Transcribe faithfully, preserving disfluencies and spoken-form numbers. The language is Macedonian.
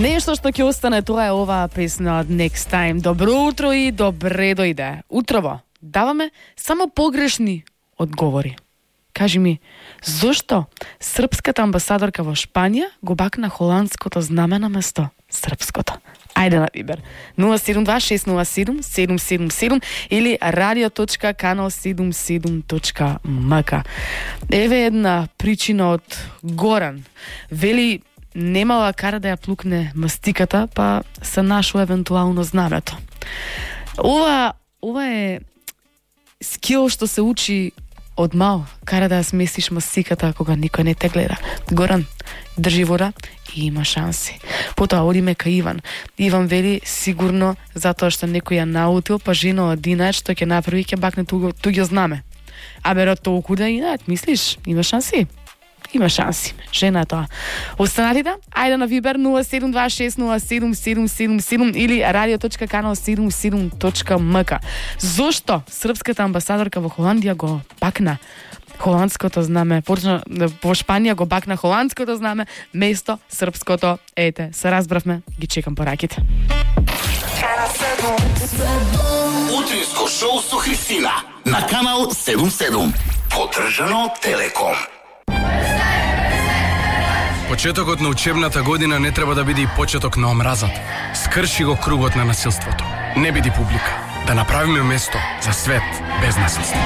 Нешто што ќе остане, тоа е оваа песна од Next Time. Добро утро и добре дојде. Утрово даваме само погрешни одговори. Кажи ми, зошто српската амбасадорка во Шпанија го бакна холандското знаме на место српското? Ајде на Вибер. нула седум два шест нула седум седум седум седум или radio точка канал седумдесет и седум точка ем ка. Еве една причина од Горан. Вели, немала кара да ја плукне мастиката, па се нашло евентуално знамето. Ова, ова е скил што се учи од мал, кара да ја сместиш мастиката кога никој не те гледа. Горан, држи вода и има шанси. Потоа одиме кај Иван. Иван вели сигурно затоа што некој ја наутил, па жена од Динајот што ќе направи ќе бакне туго, туѓо знаме. А беро толку да Динајот, мислиш? Има шанси? Има шанси. Жена е тоа. Останатите, ајде на Вибер нула седум два шест нула седум седум седум седум или radio точка канал седумдесет и седум точка ем ка. Зошто српската амбасадорка во Холандија го бакна холандското знаме, почна во Шпанија го бакна холандското знаме место српското? Ете, се разбравме, ги чекам пораките. Утринско шоу со Христина на канал седумдесет и седум. Поддржано од Телеком. Почетокот на учебната година не треба да биде и почеток на омразата. Скрши го кругот на насилството. Не биди публика. Да направиме место за свет без насилство.